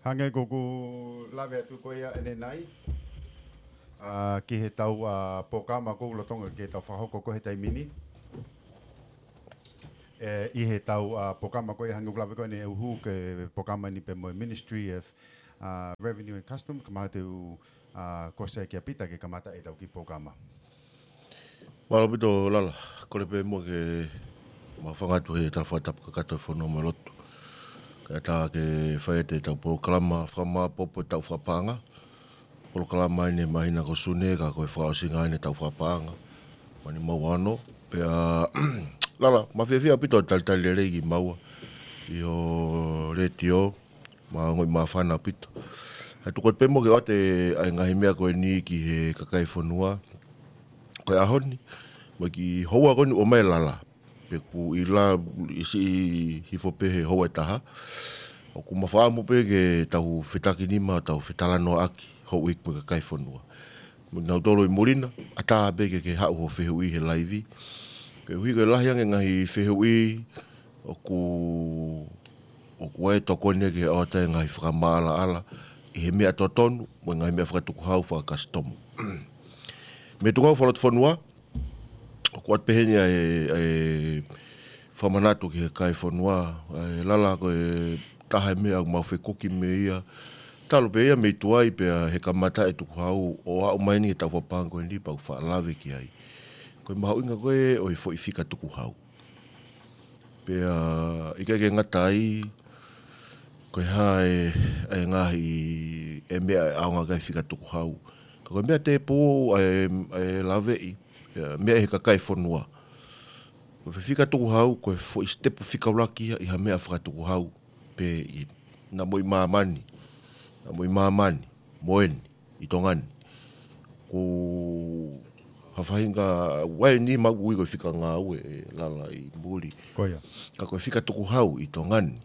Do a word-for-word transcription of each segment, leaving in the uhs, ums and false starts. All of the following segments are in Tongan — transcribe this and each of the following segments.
Hangē ko ʻeku lave atu ko ia ʻanenai, ʻa, ki heʻetau, ʻa, polokalama ko ē lolotonga ke tau fakahoko ko ē he taimi ni. ʻE, ʻi heʻetau, ʻa, polokalama ko ia hangē ko ʻeku lave ko ē ʻanenai, ʻoku hū ko e polokalama ni pē mo e Ministry of, ʻa, Revenue and Customs, ka mahalo te u, ʻa, kole atu kia Pita ke kamata ʻetau kiʻi polokalama. Mālō ʻaupito Lala, kole pē muʻa ke mau hūfanga atu he tala fakatapu kakato ʻo e fonua mo e lotu. Kae ʻatā ke fai ʻetau polokalama fakamāʻopoʻopo ʻetau fakapaʻanga. Polokalama ʻeni he māhina ko Sune, ka ko e fakaʻosinga ʻeni ʻetau fakapaʻanga. Mei he ʻaho ni mo e ʻaho ni. Pea, Lala, mau fiefia ʻaupito ʻi he talitali lelei kimaua ʻi ho letiō, mau ongoʻi māfana ʻaupito. He tuku atu pē muʻa ke ʻoatu ʻa e ngaahi meʻa ko eni ki he kakai fonua ko e ʻaho ni, mo e kiʻi houa ko eni ʻoku ʻomai ʻe Lala. Pea ʻoku ʻi Lala ʻi siʻi hifo pē he houa ʻe taha. ʻOku mau fakaʻamu pē ke tau fetakinima, tau fetalanoaʻaki, houʻeiki mo e kakai fonua. Mo kinautolu ʻi muli na, ʻatā pē ke ke haʻu ho fehuʻi he laivi. Koeʻuhi ko e lahi ange ngaahi fehuʻi, ʻoku, ʻoku ʻi ai e tokoni ke ʻoatu e ngaahi fakamaʻalaʻala ʻi he meʻa totonu, mo e ngaahi meʻa fakatukuhau fakakasitomu. Mei he tukuhau fakalotofonua, ʻoku ʻoatu pē heni ʻa e, ʻa e fakamanatu ki he kakai fonua, ʻa e Lala ko e taha e meʻa ʻoku mau fekuki mei ai. Talu pē ia mei tuai pea he kamata e tukuhau ʻo aʻu mai ʻeni ki heʻetau fakapaʻanga ko eni pea ʻoku faʻa lave ki ai. Ko e mahuʻinga ko ē ʻo e foʻi fika tukuhau. Pea ʻikai ke ngata ai, ko e hā e, e ngaahi, e meʻa ʻe ʻaonga ki ai e fika tukuhau. Ka ko e meʻa tēpū ʻa e, e laveʻi, e meʻa ʻi he kakai fonua. Ko e foʻi fika tukuhau, ko e foʻi sitepu fika ʻuluaki ia ʻi ha meʻa fakatukuhau pē ʻi, naʻa mo ʻi māmani, naʻa mo ʻi māmani, mo eni, ʻi Tonga ni. Ko ha faʻahinga, ʻoku ʻi ai ʻeni mau ui ko e fika ngāue ʻe Lala ʻi muli. Ko ia. Ka ko e fika tukuhau ʻi Tonga ni.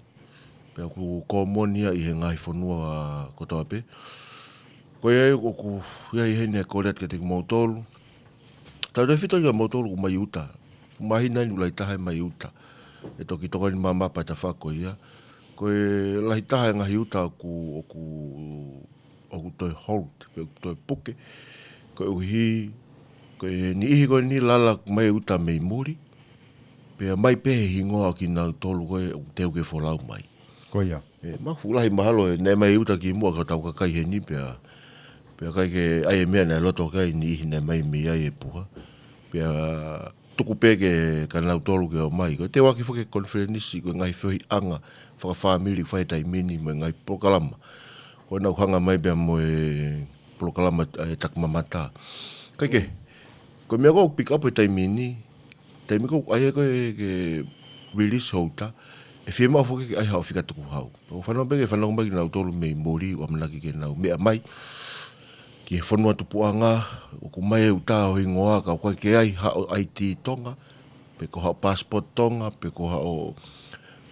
Pea ʻoku kōmoni ia ʻi he ngaahi fonua kotoa pē. Ko ia ʻoku, ʻi ai heni e kole atu kiate kimoutolu. Tautautefito kia moutolu ʻoku mai ʻi ʻuta. Māhina ʻeni ʻoku lahi taha e mai ʻi ʻuta. ʻE toki tokoni mai pē ʻa e tafaʻaki ko ia. Ko e lahi taha e ngaahi ʻuta ʻoku, ʻoku, ʻoku toe hold, pe ʻoku toe puke. Koeʻuhi, ko e niʻihi ko eni Lala ʻoku mai ʻi ʻuta mei muli. Pea mai pē he hingoa ʻo kinautolu ko ē ʻoku teu ke folau mai. Ko ia. ʻE, mafu lahi mahalo ʻe naʻe mai ʻi ʻuta kimuʻa ko hotau kakai heni pea, pea ʻikai ke ʻi ai e meʻa naʻe loto ki ai e niʻihi naʻe mai mei ai e puha. Pea tuku pē kia kinautolu ke ō mai. Ko e teu ʻaki foki e konifelenisi, ko e ngaahi feohiʻanga fakafāmili ʻoku fai he taimi ni mo e ngaahi polokalama. Ko ena ʻoku hanga mai pea mo e polokalama ʻa e Taki Mamata. Kae kehe, ko e meʻa ko ē ʻoku pick up he taimi ni, taimi ko ē ʻoku ʻai ai ko ē ke release ho ʻuta, ʻe fiemaʻu foki ke ʻai haʻo fika tukuhau. ʻOku fanongo pē ke fanongo mai kinautolu mei muli ʻoku ʻamanaki ke nau meʻa mai ki he fonua tupuʻanga, ʻoku mai e ʻuta ho hingoa ka ʻoku ʻikai ke ʻi ai haʻo I D Tonga, pe ko haʻo passport Tonga, pe ko haʻo,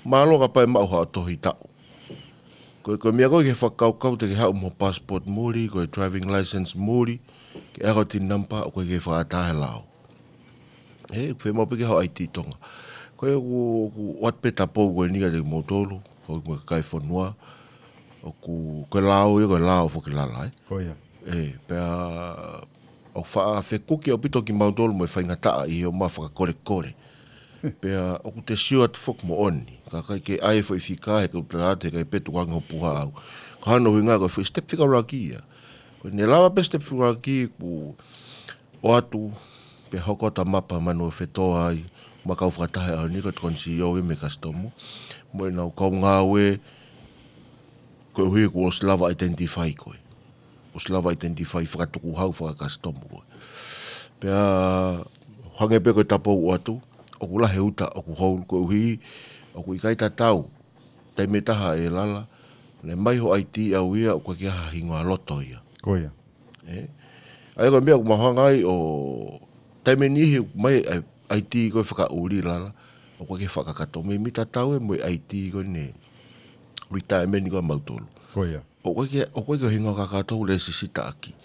mālō kapau ʻe maʻu haʻo tohi taʻu. Ko e, ko e meʻa ko ē ke fakakaukau te ke haʻu mo e passport muli, ko e driving license muli, ke ʻai haʻo TIN number, ʻoku ʻikai ke fakaʻatā he lao. ʻE, ʻoku fiemaʻu pē ke haʻo I D Tonga. Ko ia ʻoku, ʻoku ʻoatu pē e tapou ko eni kiate kimoutolu, houʻeiki mo e kakai fonua, ʻoku, ko e lao ia, ko e lao foki Lala, ē. Ko ia. ʻE, pea ʻoku faʻa fekuki ʻaupito kimautolu mo e faingataʻa ʻi he ō mai fakakolekole. Pea ʻoku te sio atu foki moʻoni. Ka ʻikai ke ʻai e foʻi fika he kau tala atu he ʻikai pē tuku ange ho puha ʻau. Ko hono ʻuhinga ko e foʻi step fika ʻuluaki ia. Ko ʻene lava pē step fika ʻuluaki kuo ʻoatu, pea hoko atu ʻa Mapa Manuofetoa ai, mo e kau fakataha he ʻaho ni ko e tokoni C E O ia mei he Kasitomu. Mo ʻenau kau ngāue, koeʻuhi kuo ʻosi lava identify koe. ʻOsi lava identify fakatukuhau fakakasitomu koe. Pea hangē pē ko e tapou ʻoatu, ʻoku lahi e ʻuta, ʻoku hold koeʻuhi, ʻoku ʻikai tatau, taimi ʻe taha ʻe Lala, naʻe mai ho I D ʻau ia, ʻoku ʻikai ke ʻi ai ha hingoa loto ia. Ko ia. ʻE? ʻA ia ko e meʻa ʻoku mau hanga ai ʻo taimi ʻe niʻihi ʻoku mai ʻa e I D ko ē fakaʻuli Lala, ʻoku ʻikai ke fakakakato. Meimei tatau ē mo e I D ko eni retirement ko ē ʻa mautolu. Ko ia. ʻOku ʻikai ke, ʻoku ʻikai ke hingoa kakato ʻoku lēsisita ʻaki.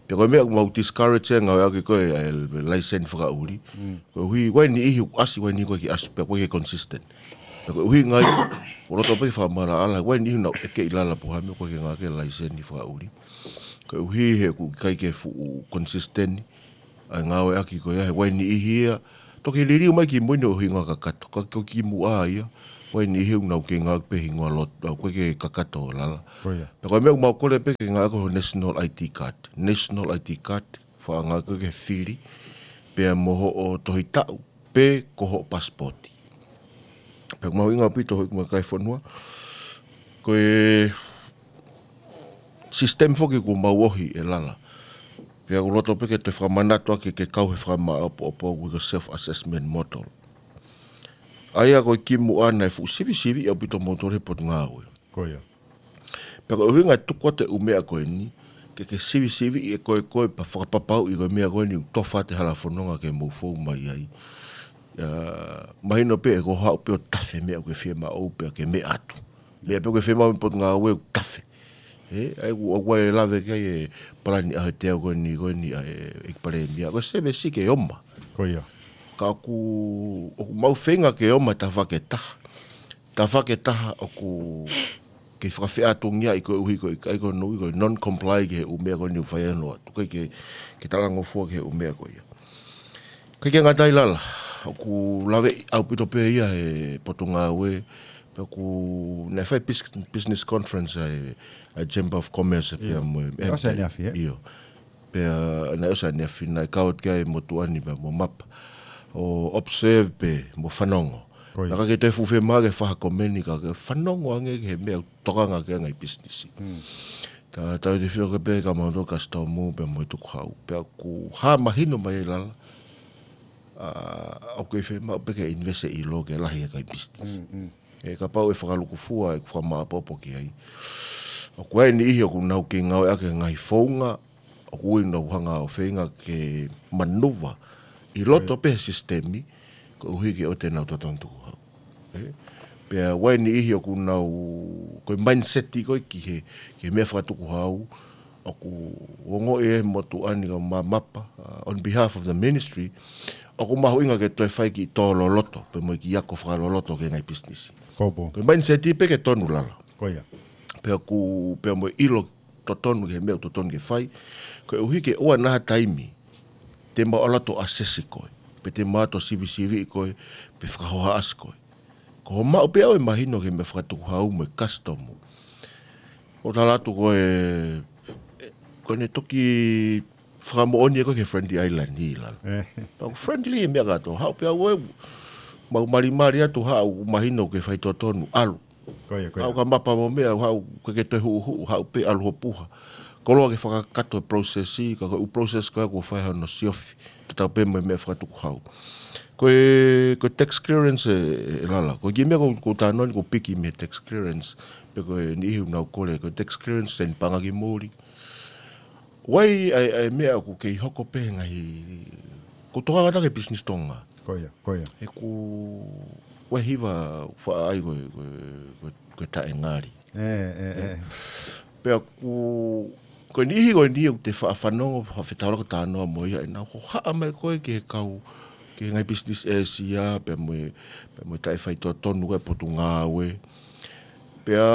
Pea ko e meʻa ʻoku mau discourage e ngāueʻaki ko ē ʻa e license fakaʻuli. Mm. Koeʻuhi, ʻoku ʻi ai e niʻihi ʻoku ʻasi, ʻoku ʻi ai e niʻihi ʻoku ʻikai ke ʻasi, pea ʻoku ʻikai ke consistent. Pea ko e ʻuhinga ia, ʻoku loto pē ke fakamaʻalaʻala, ʻoku ʻi ai e niʻihi ʻoku nau ʻeke ʻi lala pe ko e hā e meʻa ʻoku ʻikai ke ngāueʻaki e laiseni fakaʻuli. Ko e ʻuhi he ʻoku ʻikai ke fuʻu consistent ʻa e ngāueʻaki ko ia, he ʻoku ʻi ai e niʻihi ia, toki liliu mai ki mui ʻo hingoa kakato, ka ko e kimuʻa ia, ʻoku ʻi ai e niʻihi ʻoku nau kei ngāueʻaki pē hingoa lotu, ʻoku ʻikai ke kakato lala. Ko ia. Pea ko e meʻa ʻoku mau kole pē ke ngāueʻaki ko e National I D card. National I D card, faʻa ngāueʻaki ko e fili, pea mo hoʻo tohi taʻu, pe ko hoʻo pasipoti. Pea ʻoku mahuʻinga ʻaupito hoʻo ʻomai ki he fonua. Ko e system foki ʻoku mau ʻohi ʻi lala. Pea ʻoku loto pē ke toe fakamanatu ake ke kau he fakamāʻopoʻopo ʻoku ui ko e self-assessment model. ʻA ia ko e kimuʻa naʻe fuʻu sivisiviʻi ʻaupito moutolu he potungāue. Ko ia. Pea ko e ʻuhinga e tuku atu e ʻū meʻa ko eni, ke ke sivisiviʻi ʻe koe koe pea fakapapauʻi ko e meʻa ko eni ʻoku tofa atu e hala fononga ke mou fou mai ai. ʻA, mahino pē ʻe ko e haʻu pē ʻo tafe meʻa ʻoku ke fiemaʻu pea ke meʻa atu. Meʻa pē ʻoku ke fiemaʻu mei he potungāue ʻoku tafe. Ē, ʻa ia ʻoku, ʻoku ou lave ki ai e palani ʻaho ʻe teau ko eni, ko eni ʻa e, ʻEiki Palēmia. Ko e service ke ʻomai. Ko ia. Ka ʻoku, ʻoku mau feinga ke ʻomai tafaʻaki ʻe taha. Tafaʻaki ʻe taha ʻoku kei fakafeʻātungiaʻi koeʻuhi ko e ʻikai ko hono ui ko e non-comply ki he ʻū meʻa ko eni ʻoku fai ai hono ʻatu. ʻIkai ke, ke talangofua ki he ʻū meʻa ko ia. ʻIkai ke ngata ai lala, ʻoku laveʻi ʻaupito pē ia he potungāue, pea ʻoku naʻe fai bus-, business conference ʻa e, ʻa e Chamber of Commerce pea mo e M P. ʻIo, ʻosi ʻaneafi, ē? ʻIo. Pea naʻe ʻosi ʻaneafi naʻe kau atu ki ai e motuʻa ni pea mo Mapa. ʻO observe pē mo fanongo. Ko ia. Naʻa ke toe fuʻu fiemaʻu ke fai ha komeni ka ke fanongo ange ki he meʻa ʻoku tokanga ki ai e ngaahi pisinisi. Mm. Ta, tautefito pē kia mautolu kasitomu pea mo e tukuhau. Pea ʻoku hā mahino mai ai lala, ʻa, ʻoku kei fiemaʻu pē ke invest ʻi loto ke lahi e kakai pisinisi. Mm, mm. Ē, kapau ʻe fakalūkufua ʻeku fakamāʻopoʻopo ki ai. ʻOku ʻi ai e niʻihi ʻoku nau kei ngāueʻaki e ngaahi founga, ʻoku ui ʻoku nau hanga ʻo feinga ke manuva ʻi loto pē he sisitemi, koeʻuhi ke ʻoua te nau totonu tukuhau. Ē? Pea ʻoku ʻi ai e niʻihi ʻoku nau, ko e mindset ko ē ki he, ki he meʻa fakatukuhau, ʻoku ongoʻi ʻe he motuʻa ni ko Ma-, Mapa, uh, on behalf of the ministry, ʻoku mahuʻinga ke toe fai e kiʻi tō loloto, pea mo e kiʻi ako fakaloloto ki he ngaahi pisinisi. Ko ia. Ko e mindset pē ke tonu lala. Ko ia. Pea ʻoku, pea mo e ʻilo totonu ki he meʻa ʻoku totonu ke fai. Koeʻuhi ke ʻoua naʻa ha taimi te mau ʻalu atu ʻo asesi koe, pe te mau ʻalu atu ʻo sivisiviʻi koe, pe fakahohaʻasi koe. Ko hoʻo maʻu pē ʻe au e mahino ki he meʻa fakatukuhau mo e kasitomu. ʻOku tala atu ko e, ko ʻene toki fakamoʻoni ʻe koe ki he Friendly Island ʻi lalo. Ē. Pea ʻoku friendly e meʻa kātoa. Haʻu pē au ʻo mau malimali atu, haʻu mahino ke fai totonu, ʻalu. Ko ia, ko ia. Haʻu kia Mapa mo meʻa, haʻu ke ke toe huʻuhuʻu, haʻu pē ʻalu hoʻo puha. Koloa ke fakakakato e process, ka ko e ʻū process ko ia ʻoku fai hono siofi. Tatau pē mo e meʻa fakatukuhau. Ko e, ko e tax clearance ē, ē lala. Ko e kiʻi meʻa ʻoku, ʻoku ou talanoa ni ʻoku piki mei he tax clearance. Pe ko e niʻihi ʻoku nau kole, ko e tax clearance seni paʻanga ki muli. ʻOku ʻi ai, ʻa e, ʻa e meʻa ʻoku kei hoko pē he ngaahi, ʻoku tokanga atu ki he business Tonga. Ko ia, ko ia. He ʻoku ʻi ai e hiva faʻa ʻai ko e, ko e, ko e, ko e taʻengali. Ē, ē, ē. Pea ʻoku, ko e niʻihi ko eni ʻoku te faʻa fanongo, faʻa fetaulaki ʻo talanoa mo ia, ʻe nau hohaʻa mai koe ki he kau, ki he ngaahi business Asia, pea mo e, pea mo e taʻe fai totonu ko e potungāue. Pea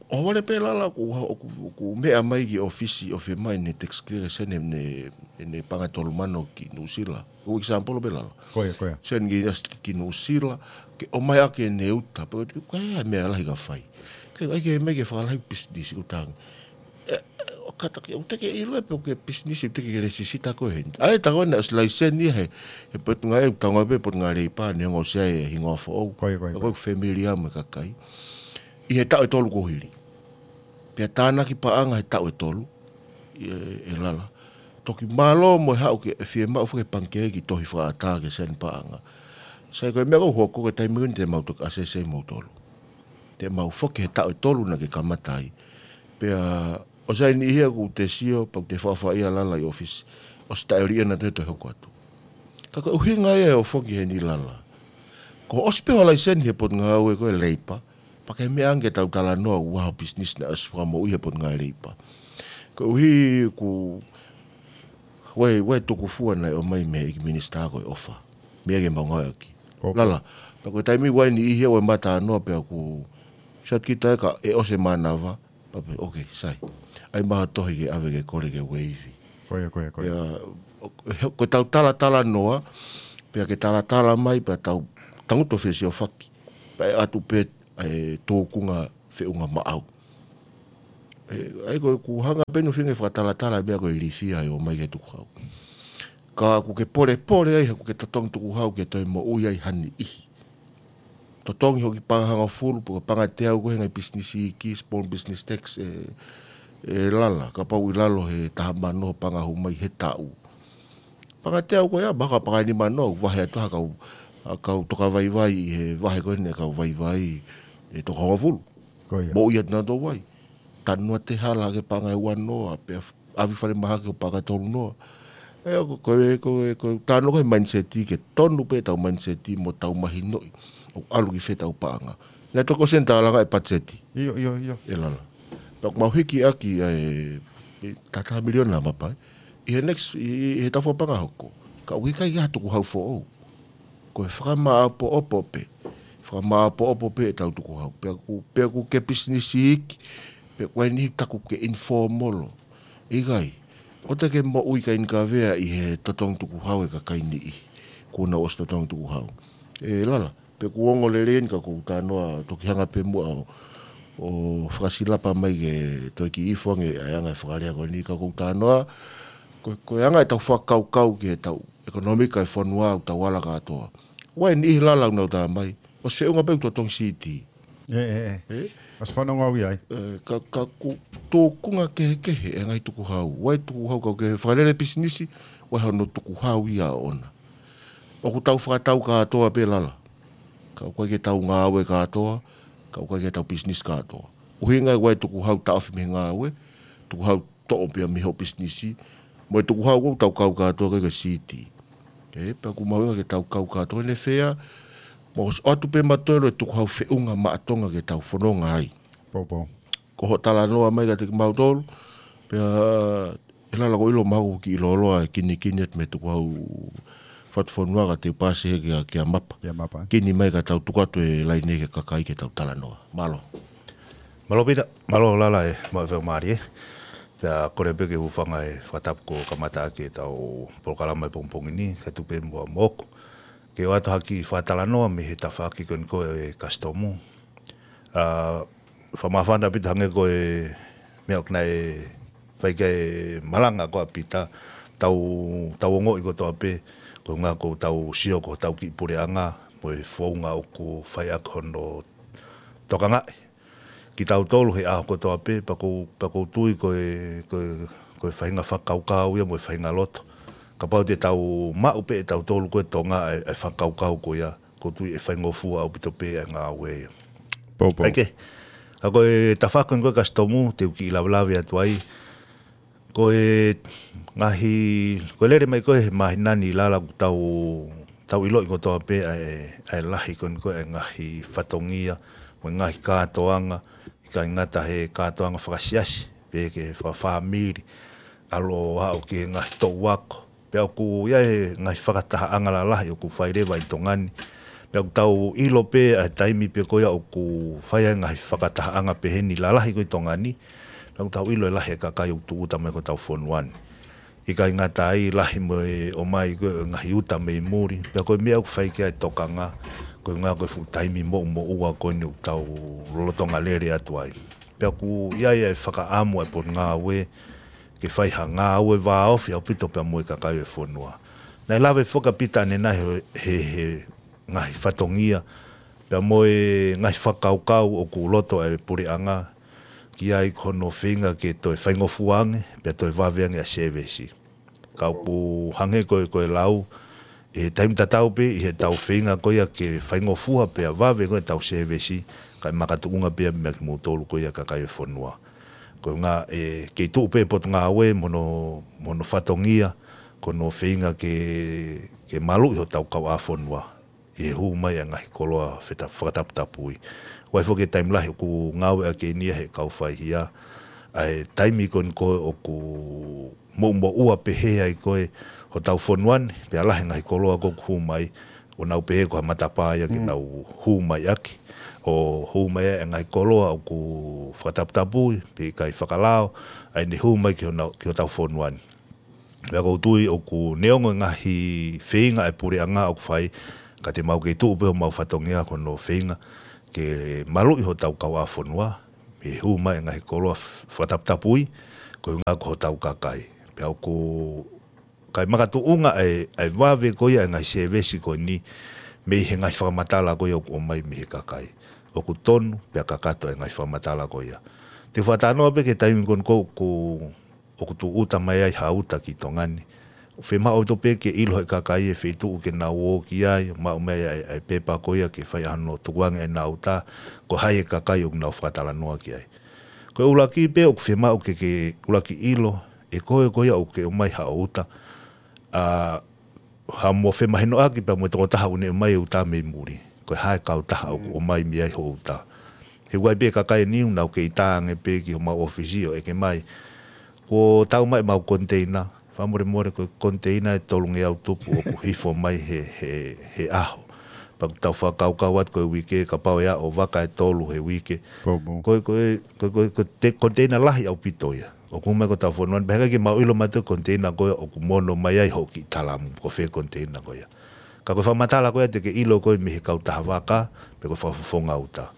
ʻohovale pē lala ʻoku, ʻoku, ʻoku meʻa mai ki ʻōfisi, ʻo fiemaʻu ʻene tax clearance ʻene, ʻene, ʻene paʻanga ʻe tolu mano ki Nuʻusila. ʻOku example pē lala. Ko ia, ko ia. Seni ki, ki Nuʻusila, ke ʻomai ʻaki ʻene uta, pea ko e meʻa lahi ka fai. Ke ʻai ke mai ke fakalahi pisinisi ʻoku tangi. Ē, ē, ʻo kātaki, ʻoku teʻeki ke ʻilo pe ko e pisinisi ʻoku teʻeki ke lēsisita koe heni. ʻA ia tā ko ena ʻosi laiseni he, he potungāue, ʻoku tau ngāue pē potungāue Leipa, neongo ʻosi ʻi ai e hingoa foʻou. Ko ia, ko ia, ko ia. Ko e familia mo e kakai. ʻI he taʻu ʻe tolu kuo hili. Pea tānaki paʻanga he taʻu ʻe tolu, ē, ē lala. Toki mālō mo e haʻu ke fiemaʻu foki ʻe he pangikē e kiʻi tohi fakaʻatā ki he seni paʻanga. Sai ko e meʻa ʻoku hoko ko e taimi ni te mau toki asesi ai moutolu. Te mau foki he taʻu ʻe tolu naʻa ke kamata ai. Pea ʻosi ʻi ai e niʻihi ia ʻoku te sio, pea ʻoku te faʻafaʻia lala ʻi ʻōfisi. ʻOsi taʻeʻoliʻia naʻa te toe hoko atu. Ka ko e ʻuhinga ia ʻo e foki heni lala. Kuo ʻosi pē hoʻo laiseni he potungāue ko e Leipa, pea ke meʻa ange ke tau talanoa ʻoku ʻi ai hoʻo pisinisi naʻe ʻosi fakamoʻui he potungāue Leipa. Koeʻuhi ʻoku, ʻoku ʻi ai, ʻoku ʻi ai e tukufua naʻe ʻomai mei he ʻEiki Minisitā ko e ʻofa. Meʻa ke mau ngāueʻaki. Lala, pea ko e taimi ʻoku ʻi ai e niʻihi ʻoku ʻi ai e mata noa pea ʻoku sio atu kita ē ka ʻosi e mānava, pea pehē, okay, sai. ʻAi mai ha tohi ke ʻave ke kole ke waive. Ko ia, ko ia, ko ia. Pea, ko e tau talatalanoa, pea ke talatala mai, pea tau tangutu fesiofaki. Pea ʻe ʻatu pē e tōkunga feʻunga maʻau. ʻE, ʻa ia ko ʻeku hanga pē ʻo feinga fakatalatala e meʻa ko e ilifia ʻo mai ki he tukuhau. Ka ʻoku ke polepole ai, ʻoku ke totongi tukuhau ke toe moʻui ai ha niʻihi. Totongi hoʻo kiʻi paʻanga hongofulu, pe ko e paʻanga teau ko e ngaahi business iiki, small business tax, ē, ē Lala, kapau ʻi lalo he taha mano paʻanga hū mai he taʻu. Paʻanga teau ko ia, mahalo ko e paʻanga nima noa, vahe atu ha kau, ha kau toka vaivai ʻi he vahe ko eni ʻa e kau vaivai, ē, toka hongofulu. Ko ia. Moʻui atu nautolu ai. Tanu atu e hala ki he paʻanga ʻe ua noa, pea ʻave falemahaki ki he paʻanga ʻe tolu noa. ʻE, ko, ko, ko, ko, tā noa ko e mindset ke tonu pē ʻetau mindset mo tau mahinoʻi ʻoku ʻalu ki fē ʻetau paʻanga. Naʻe toki ʻosi eni tau langa e patiseti. ʻIo, ʻio, ʻio. ʻE Lala. Pea ʻoku mau hiki ʻaki ʻa e, ʻe taha miliona mapa. ʻI he next, ʻi, ʻi, ʻi he taʻu fakapaʻanga hoko. Ka ʻoku ʻikai ha tukuhau foʻou. Ko e fakamāʻopoʻopo pē. Fakamāʻopoʻopo pē ʻetau tukuhau. Pea ʻoku, pea ʻoku ke pisinisi iiki, pea ʻoku ʻi ai e niʻihi taku ke informal. ʻIkai. ʻOua te ke moʻui kaini kavea ʻi he totongi tukuhau e kakai niʻihi. Kuo nau ʻosi totongi tukuhau. ʻE Lala, pea ʻoku ongo lelei eni ka ʻoku ou talanoa toki hanga pē muʻa ʻo, ʻo fakasilapa mai ke toe kiʻi ifo ange ʻa e anga e fakalea ko eni ka ʻoku ou talanoa, ko, ko e anga ʻetau fakakaukau ki heʻetau ʻekonōmika e fonua ʻoku tau ala kātoa. ʻOku ʻi ai e niʻihi Lala ʻoku nau tā mai, ʻosi feʻunga pē ʻoku totongi siti. ʻE, ʻe, ʻe. ʻE? ʻOsi fanongo au ia ai. ʻE, ka, ka ʻoku tōkunga kehekehe e ngaahi tukuhau. ʻOku ʻi ai e tukuhau ka ʻoku ke fakalele pisinisi, ʻoku ʻi ai hono tukuhau ia ʻoʻona. ʻOku tau fakatau kātoa pē Lala. Ka ʻoku ʻikai ke tau ngāue kātoa, ka ʻoku ʻikai ke tau pisinisi kātoa. ʻUhinga ʻoku ʻi ai e tukuhau taʻofi mei he ngāue, tukuhau toʻo pea mei hoʻo pisinisi, mo e tukuhau ʻoku tau kau kātoa ki he siti. ʻE, pea ʻoku mahuʻinga ke tau kau kātoa ʻene fea, mo ʻoatu pē mautolu e tukuhau feʻunga maʻa Tonga ke tau fononga ai. Pou, pou. Ko hoʻo talanoa mai kiate kimautolu, pea ʻe Lala ʻoku ou ʻilo mahalo ʻoku kiʻi lōloa e kinikini atu mei he tukuhau fatufonua ka te u pasi hē kia, kia Mapa. Kia Mapa. Kini mai ka tau tuku atu e laine ki he kakai ke tau talanoa. Mālō. Mālō Pita, mālō Lala e, maʻu e faingamālie. Pea kole pē ke u hūfanga he fakatapu kuo kamata ʻaki ʻetau polokalama he pongipongi ni, kae tuku pē muʻa moʻoku ke ʻoatu ha kiʻi fakatalanoa mei he tafaʻaki ko eni ko e kasitomu. ʻA, fakamāfana Pita hangē ko e meʻa ʻoku nau fai ki ai e malanga ko ē ʻa Pita, tau, tau ongoʻi kotoa pē, ko e ʻuhinga ʻoku tau sio ko hotau kiʻi puleʻanga, mo e founga ʻoku fai ʻaki hono tokangaʻi kitautolu he ʻaho kotoa pē, pea ʻoku, pea ʻoku ou tui ko e, ko e, ko e faʻahinga fakakaukau ia mo e faʻahinga loto. Kapau te tau maʻu pē ʻe tautolu ko e Tonga e, e fakakaukau ko ia, ʻoku ou tui ʻe faingofua ʻaupito pē e ngāue ia. Pou, pou. ʻIkai ke, ka ko e tafaʻaki ko eni ko e kasitomu, te u kiʻi lavelave atu ai. Ko e ngaahi, ko e lele mai ko ē he māhina ni Lala ʻoku tau, tau ʻiloʻi kotoa pē ʻa e, ʻa e lahi ko eni ko ē e ngaahi fatongia, mo e ngaahi kātoanga, ʻikai ngata he kātoanga fakasiasi, pe ki he fakafāmili, ʻalu ʻo aʻu ki he ngaahi toʻu ako. Pea ʻoku ʻi ai e ngaahi fakatahaʻanga lalahi ʻoku fai leva ʻi Tonga ni. Pea ʻoku tau ʻilo pē ʻa e taimi pē ko ia ʻoku fai ai e ngaahi fakatahaʻanga pehē ni lalahi ko ē ʻi Tonga ni. Pea ʻoku tau ʻilo e lahi e kakai ʻoku tūʻuta mai ki hotau fonua ni. ʻIkai ngata ai lahi mo e ʻomai ko ē ngaahi uta mei muli. Pea ko e meʻa ʻoku fai ki ai e tokanga, ko e ʻuhinga ko e fuʻu taimi moʻumoʻua ko eni ʻoku tau lolotonga lele atu ai. Pea ʻoku ʻi ai e fakaʻamu ʻa e Potungāue ke fai ha ngāue vāofi ʻaupito pea mo e kakai e fonua. Naʻe lave foki ʻa Pita ʻanenai he, he, he ngaahi fatongia, pea mo e ngaahi fakakaukau ʻoku loto e puleʻanga ki ai ko hono feinga ke toe faingofua ange, pea toe vave ange ʻa e sēvesi. Ka ʻoku hangē ko e, ko e lau, ʻi he taimi tatau pē, ʻi heʻetau feinga ko ia ke faingofua pea vave ko ē ʻetau sēvesi, kae makatuʻunga pē ia meia kimoutolu ko ia kakai e fonua. Ko e ʻuhinga ʻe kei tuʻu pē Potungāue mo hono, mo hono fatongia, ko hono feinga ke, ke maluʻi hotau kauʻāfonua ʻi he hū mai ʻa e ngaahi koloa feta-, fakataputapui. ʻOku ʻi ai foki e taimi lahi ʻoku ngāueʻaki eni ia he kau faihia, ʻa e taimi ko eni ko ē ʻoku moʻumoʻua pehē ai ko ē hotau fonua ni, pea lahi e ngaahi koloa ko ē ʻoku hū mai, ʻo nau pehē ko ha matapā ia ke nau hū mai ʻaki. ʻO hū mai ai e ngaahi koloa ʻoku fakataputapui, pe ʻikai fakalao, ʻa ʻene hū mai ki honau, ki hotau fonua ni. Pea ʻoku ou tui ʻoku neongo e ngaahi feinga ʻa e puleʻanga ʻoku fai, ka te mau kei tuʻu pē homau fatongia ko hono feinga ke maluʻi hotau kauʻāfonua, mei he hū mai e ngaahi koloa f-, fakataputapui, koeʻuhinga ko hotau kakai. Pea ʻoku ʻikai makatuʻunga ʻa e, ʻa e vave ko ia e ngaahi sēvesi ko eni mei he ngaahi fakamatala ko ia ʻoku ʻomai mei he kakai. ʻOku tonu pea kakato e ngaahi fakamatala ko ia. Te u fakatalanoa pē ki he taimi ko eni ʻoku, ʻoku tūʻuta mai ai ha uta ki Tonga ni. ʻOku fiemaʻu ʻaupito pē ke ʻilo ʻe he kakai e feituʻu ke nau ō ki ai, maʻu mai ʻa e, ʻa e pepa ko ia ke fai ʻa hono tukuange ʻenau uta, ko hai e kakai ʻoku nau fakatalanoa ki ai. Ko e ʻuluaki pē ʻoku fiemaʻu ke, ke ʻuluaki ʻilo, ʻe koe ko ia ʻoku ke ʻomai haʻo uta, ʻa, ha mo femahinoʻaki pea mo e tokotaha ʻoku ne ʻomai e uta mei muli. Ko e hā e kautaha ʻoku ʻomai mei ai hoʻo uta. He ʻoku ʻi ai pē kakai ʻe niʻihi ʻoku nau kei tā ange pē ki homau ʻōfisi ʻo ʻeke mai, kuo tau mai ʻemau koniteina, fakamolemole ko e koniteina ʻe tolungeau tupu ʻoku hifo mai he, he, he ʻaho. Pea ʻoku tau fakakaukau atu ko e uike, kapau ʻe aʻu vaka ʻe tolu he uike. Ko e, ko e, ko e, ko e, ko e te-, koniteina lahi ʻaupito ia. ʻOku hū mai ki hotau fonua ni, pea heʻikai ke mau ʻilo mai ʻe he koniteina ko ia ʻoku mono mai ai hoʻo kiʻi talamu, ko fē koniteina ko ia. Ka ko e fakamatala ko ia te ke ʻilo koe mei he kautaha vaka, pe ko e fakafofonga uta.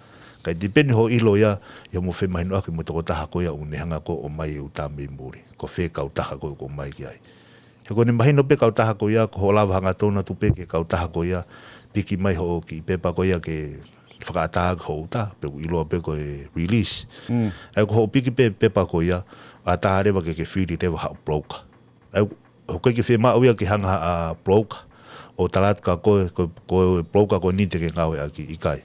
Kae tipeni hoʻo ʻilo ia, ʻi hoʻomo femahinoʻaki mo e tokotaha ko ia ʻoku ne hanga ko ē ʻo ʻomai e uta mei muli. Ko fē kautaha ko ē ʻoku ʻomai ki ai. He ko ʻene mahino pē kautaha ko ia, ko hoʻo lava hangatonu atu pē ki he kautaha ko ia, piki mai hoʻo kiʻi pepa ko ia ke fakaʻatā ki hoʻo uta, pe ʻoku ʻiloa pē ko e release. ʻA ia ko hoʻo piki pē pepa ko ia, ʻatā leva ke ke fili leva haʻo broker. ʻA ia, ʻoku ʻikai ke fiemaʻu ia ke hanga ha broker ʻo tala atu kia koe, ko, ko e broker ko eni te ke ngāueʻaki, ʻikai.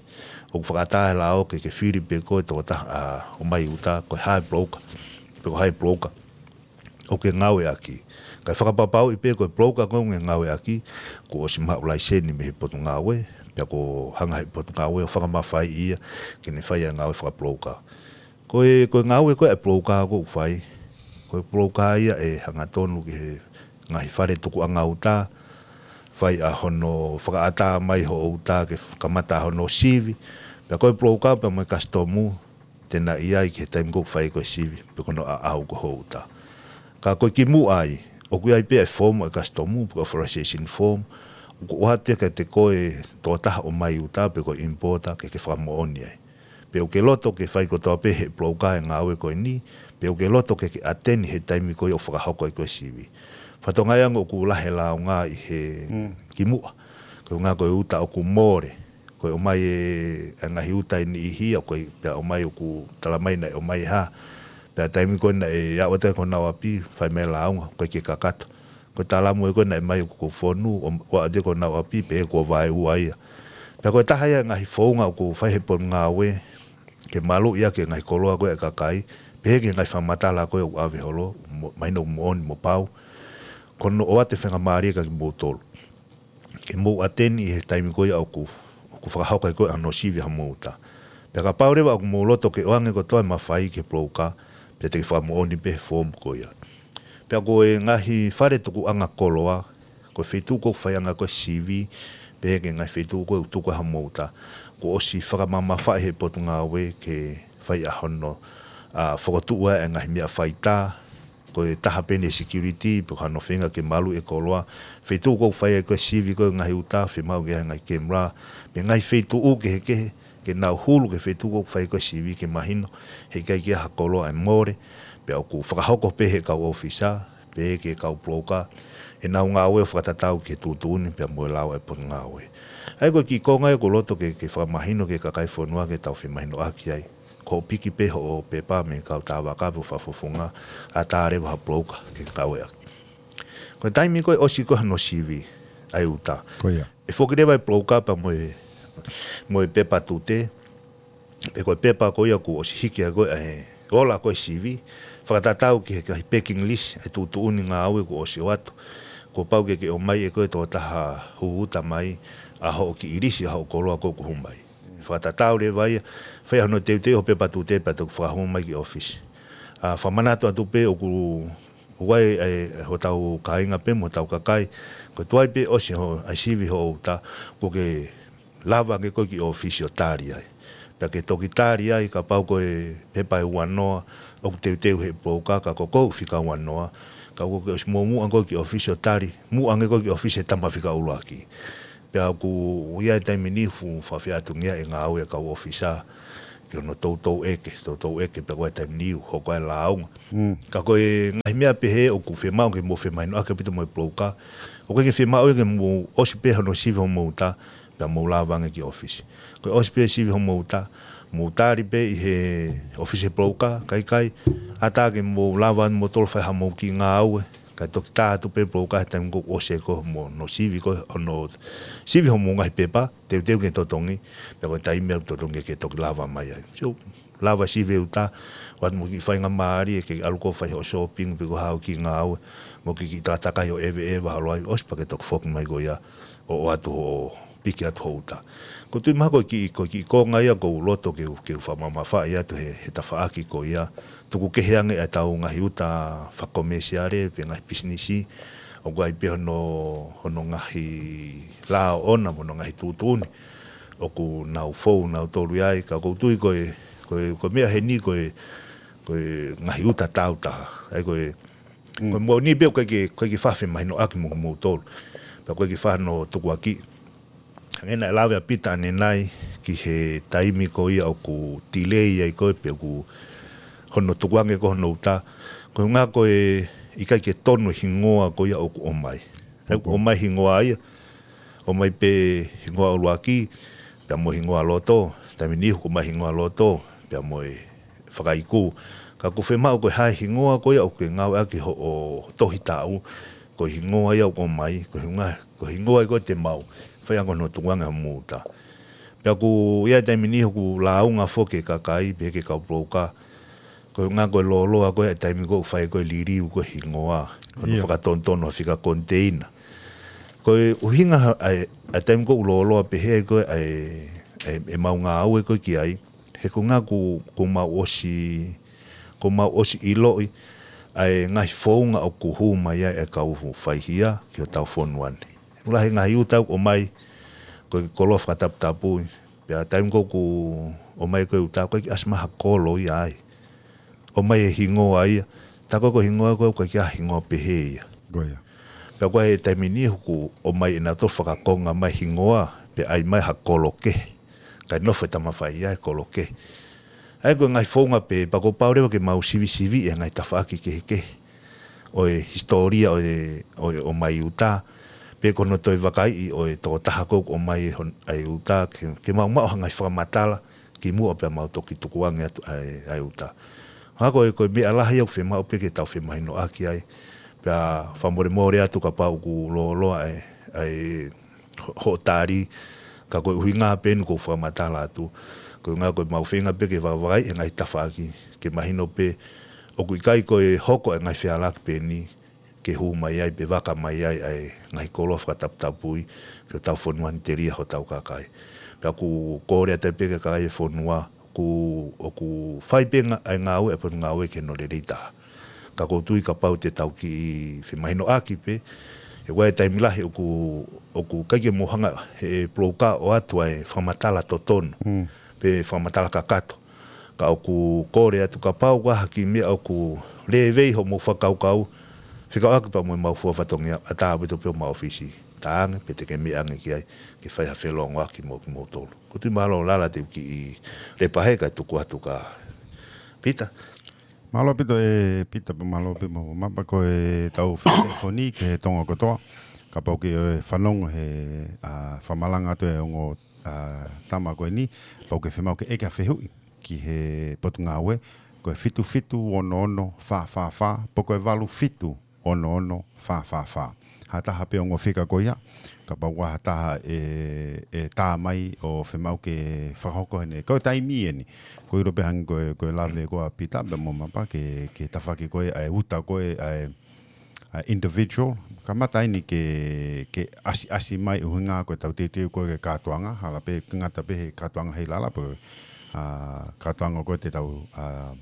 ʻOku fakaʻatā he lao ke ke fili pē koe tokotaha ʻa, ʻomai uta, ko hai e broker, pe ko hai e broker ʻoku ke ngāueʻaki. Kae fakapapauʻi pē ko e broker ko ē ʻoku ke ngāueʻaki, kuo ʻosi maʻu laiseni mei he potungāue, pea kuo hanga he potungāue ʻo fakamafaiʻi ia ke ne fai ʻa e ngāue fakabroker. Ko e, ko e ngāue ko ē ʻa e broker ʻoku fai, ko e broker ia ʻe hangatonu ki he ngaahi fale tukuʻanga uta, fai ʻa hono fakaʻatā mai hoʻo uta ke kamata hono sivi, pea ko e broker pea mo e kasitomu, te na ʻi ai ki he taimi ʻoku fai ko ē sivi, pe ko hono ʻaʻau ko ē hoʻo uta. Ka ko e kimuʻa ai, ʻoku ʻi ai pē ʻa e form ʻa e kasitomu, pe ko e authorization form, ʻoku ʻoatu ia kiate koe tokotaha ʻomai uta, pe ko e importer, ke ke fakamoʻoni ai. Pe ʻoku ke loto ke fai kotoa pē he broker e ngāue ko eni, pe ʻoku ke loto ke ke attend he taimi ko ia ʻoku fakahoko ai ko ē sivi. Fatongia ia ʻoku lahi e lāunga ʻi he kimuʻa. Koeʻuhinga ko e uta ʻoku mole. Ko e ʻomai e, e ngaahi uta ʻe niʻihi ʻoku ʻikai pea ʻomai ʻoku tala mai naʻe ʻomai ha. Pea taimi ko ē naʻe aʻu atu ai ki honau ʻapi, fai mai e lāunga, ʻoku ʻikai ke kakato. Ko e talamu ē ko ē naʻe ʻomai ʻoku fonu, ʻo, ʻo aʻu atu ai ki honau ʻapi, pehē kuo vaeua ia. Pea ko e taha ia e ngaahi founga ʻoku fai he potungāue, ke maluʻi ʻaki e ngaahi koloa ko ē ʻa e kakai, pehē ki he ngaahi fakamatala ko ē ʻoku ʻave holo, mo-, mahino ʻoku moʻoni mo pau. Ko hono ʻoatu e faingamālie kia kimoutolu ke mou attend ʻi he taimi ko ia ʻoku, ʻoku fakahoko ai ko ē hono sivi haʻamou uta. Pea kapau leva ʻoku mou loto ke ʻoange kotoa e mafai ki he broker, pea te ke fakamoʻoni pē he form ko ia. Pea ko e ngaahi fale tukuʻanga koloa, ko e feituʻu ʻoku faiʻanga ko ē sivi, pehē ki he ngaahi feituʻu ko ē ʻoku tuku ai haʻamou uta, kuo ʻosi fakamamafaʻi he potungāue ke fai ʻa hono, ʻa, fokotuʻu ʻa e ngaahi meʻa faitā, ko e taha pē eni e security, pe ko hano feinga ke maluʻi e koloa. Feituʻu ʻoku fai ai ko ē sivi ko ē ngaahi uta, fiemaʻu ke ʻi ai e ngaahi camera, pe ngaahi feituʻu kehekehe, ke nau hulu ki he feituʻu ʻoku fai ko ē sivi ke mahino, heʻikai ke ʻi ai ha koloa ʻe mole, pea ʻoku fakahoko pē he kau ʻōfisa, pe ki he kau broker, ʻenau ngāue ʻo fakatatau ki he tuʻutuʻuni pea mo e lao ʻa e potungāue. ʻA ia ko e kiʻi konga ia ʻoku ou loto ke, ke fakamahino ki he kakai e fonua ke tau femahinoʻaki ai. Ko hoʻo piki pē hoʻo pepa mei he kautaha vaka pe ko e fakafofonga, ʻatā leva ha broker ke ngāueʻaki. Ko e taimi ko ē ʻosi ko ē hono sivi ʻa e uta, Ko ia. ʻe foki leva e broker pea mo e, mo e pepa tute, pe ko e pepa ko ia kuo ʻosi hiki ai ko ē ʻa e ola ko ē sivi, fakatatau ki he, ki he packing list, ʻa e tuʻutuʻuni ngāue kuo ʻosi ʻoatu. Kuo pau ke ke ʻomai ʻe koe tokotaha hū uta mai ʻa hoʻo kiʻi lisi ʻa hoʻo koloa ko ē ʻoku hū mai. Fakatatau leva ia, fai hono teuteu hoʻo pepa tute pea toki fakahū mai ki ʻōfisi. ʻA, fakamanatu atu pē ʻoku ʻOku ʻi ai e, hotau kāinga pē mo hotau kakai. Ko e tuai pē ʻosi ho, ʻa e sivi hoʻo uta, ʻoku ke lava ange koe ki ʻōfisi ʻo tali ai. Pea ke toki tali ai, kapau ko e pepa ʻe uanoa, ʻoku teuteu he pulouka, ka ko koe ʻoku fika uanoa. Ka ʻoku ke ʻosi muʻomuʻa koe ki ʻōfisi ʻo tali, muʻa ange koe ki ʻōfisi he tama fika ʻuluaki. Pea ʻoku ʻi ai e taimi ni ʻoku fakafeʻātungia e ngāue ʻa e kau ʻōfisa, ki hono toutou ʻeke, toutou ʻeke, pea ko e taimi ni ʻoku hoko ai e lāunga. Ka ko e ngaahi meʻa pehē ʻoku fiemaʻu ke mou femahinoʻaki ʻaupito mo e pulouka, ʻoku ʻikai ke fiemaʻu ia ke mou ʻosi pē hono sivi hoʻomou uta, pea mou lava ange ki ʻōfisi. Ko e ʻosi pē sivi hoʻomou uta, mou tali pē ʻi he ʻōfisi he pulouka, kae ʻikai, ʻatā ke mou lava ange moutolu fai haʻamou kiʻi ngāue, kae toki tā atu pē pulouka he taimi ʻoku ʻosi ai koe hono sivi koe, hono sivi hoʻomou ngaahi pepa, teuteu ke totongi, pea ko e taimi ʻoku totongi ke toki lava mai ai. Sio, lava sivi e uta, ʻoatu mo e kiʻi faingamālie ke ʻalu koe ʻo fai hoʻo shopping, pe ko haʻo kiʻi ngāue, mo e kiʻi takatakai ʻo ʻeveʻeva, haʻu ai, ʻosi pea ke toki foki mai koe ia, ʻo, ʻoatu hoʻo piki atu hoʻo uta. ʻOku ou tui mahalo ko e kiʻi, ko e kiʻi konga ia ʻoku ou loto ke u, ke u fakamamafaʻi atu he, he tafaʻaki ko ia. Tuku kehe ange ʻetau ngaahi uta fakakomēsiale, pe ngaahi pisinisi, ʻoku ʻi ai pē hono, hono ngaahi lao ʻona, mo hono ngaahi tuʻutuʻuni. ʻOku nau fou, nau tolu ʻi ai, ka ʻoku ou tui ko e, ko e, ko e meʻa heni ko e, ko e ngaahi uta tāutaha. ʻA ia ko e, ko e moʻoni pē ʻoku ʻikai ke, ʻikai ke faʻa femahinoʻaki mo, moutolu. Pea ʻoku ʻikai ke faʻa hono tukuakiʻi. Hangē naʻe lave ʻa Pita ʻanenai ki he taimi ko ia ʻoku delay ai koe pe ʻoku hono tukuange ko hono uta. Ko e ʻuhinga ko e ʻikai ke tonu e hingoa ko ia ʻoku ʻomai. ʻA ia ʻoku ʻomai hingoa ia. ʻOmai pē hingoa ʻuluaki, pea mo e hingoa loto, taimi ni ʻoku ʻomai hingoa loto, pea mo e fakaiku. Ka ʻoku fiemaʻu ko e hā e hingoa ko ia ʻoku ke ngāueʻaki hoʻo tohi taʻu, ko e hingoa ia ʻoku ʻomai, ko e hingoa, ko e hingoa ia ko ē te mau fai ange hono tukuange hoʻomou uta. Pea ʻoku ʻi ai e taimi ni ʻoku lāunga foki e kakai, pehē ki he kau pulouka, ko e ʻuhinga ko e lōloa ko ē e taimi ʻoku fai ko ē e liliu ko ē e hingoa, hono fakatonutonu ha fika koniteina. Ko e ʻuhinga ha, ʻa e, ʻa e taimi ʻoku lōloa pehē ko ē ʻa e, ʻa e, ʻemau ngāue ko ē ki ai, he ko e ʻuhinga ʻoku, ʻoku mau ʻosi, ʻoku mau ʻosi ʻiloʻi ʻa e ngaahi founga ʻoku hū mai ai e kau faihia ki hotau fonua ni. ʻOku lahi e ngaahi uta ʻoku ʻomai, ko e koloa fakataputapui, pea taimi ʻoku ʻomai ko e uta, ʻoku ʻikai ke ʻasi mai ha kolo ia ai. ʻOmai e hingoa ia, tā ko ē ko e hingoa ko ē ʻoku ʻikai ke ʻi ai ha hingoa pehē ia. Ko ia. Pea ko e taimi ni ʻoku ʻomai ʻenautolu fakakonga mai hingoa, pea ʻai mai ha kolo kehe. Kae nofo e tama faihia he kolo kehe. ʻA ia ko e ngaahi founga pē, pea kuo pau leva ke mau sivisiviʻi e ngaahi tafaʻaki kehekehe ʻo e hisitōlia ʻo e, ʻo e ʻomai uta, pe ko hono toe vakaiʻi ʻo e tokotaha ko ē ʻoku ʻomai hon-, ʻa e uta, ke, ke mau maʻu ha ngaahi fakamatala kimuʻa pea mau toki tukuange atu ʻa e, ʻa e uta. Ka ko e, ko e meʻa lahi ʻoku fiemaʻu pē ke tau femahinoʻaki ai, pea fakamolemole atu kapau ʻoku lōloa ʻa e, ʻa e ho-, hoʻo tali, ka ko e ʻuhinga pē eni ʻoku ou fakamatala atu. Ko e ʻuhinga ko ʻemau feinga pē ke vakavakaiʻi e ngaahi tafaʻaki, ke mahino pē ʻoku ʻikai ko e hoko e ngaahi fealaki pē eni, ke hū mai ai, pe vaka mai ai, ʻa e ngaahi koloa fakataputapui, ki hotau fonua ni telia hotau kakai. Pea ʻoku ou kole atu pē ki he kakai e fonua, ʻoku, ʻoku fai pē ngā-, ʻa e ngāue, ʻa e potungāue ki hono lelei taha. Ka ʻoku ou tui kapau te tau kiʻi femahinoʻaki pē, he ʻoku ʻi ai e taimi lahi ʻoku, ʻoku ʻikai ke mou hanga he pulouka ʻo ʻoatu ʻa e fakamatala totonu, pe fakamatala kakato. Ka ʻoku kole atu kapau ʻoku ʻi ai ha kiʻi meʻa ʻoku lēvei hoʻomou fakakaukau, fekauʻaki pea mo ʻemau fua fatongia, ʻatā ʻaupito pē homou ʻōfisi. Tā ange, pe te ke meʻa ange ki ai, ke fai ha felōngoaki mo kimoutolu. ʻOku ou tui mahalo Lala te u kiʻi lepa hē kae tuku atu kia Pita. Mālō ʻaupito ʻe Pita pea mālō pē mo Mapa ko e tau fefekoni ki he Tonga kotoa. Kapau ʻoku ke fanongo he, ʻa, fakamalanga atu e ongo, ʻa, tama ko eni, pau ke fiemaʻu ke ʻeke ha fehuʻi ki he potungāue, ko e fitu fitu ono ono fā fā fā, pe ko e valu fitu ono ono fā fā fā. Ha taha pē ongo fika ko ia, kapau ʻoku ʻi ai ha taha ʻe, ʻe tā mai ʻo fiemaʻu ke fakahoko heni. Ko e taimi eni, ʻoku ou ʻilo pē hangē ko e, ko e lave ko ē ʻa Pita pea mo Mapa ki he, ki he tafaʻaki ko ē ʻa e uta ko ē ʻa e, ʻa e individual. Kamata eni ke, ke ʻasiʻasi mai ʻuhinga ko e tau teuteu ko ē ki he kātoanga, hala pē ngata pē he kātoanga hei Lala pē, ʻa, kātoanga ko ē te tau, ʻa,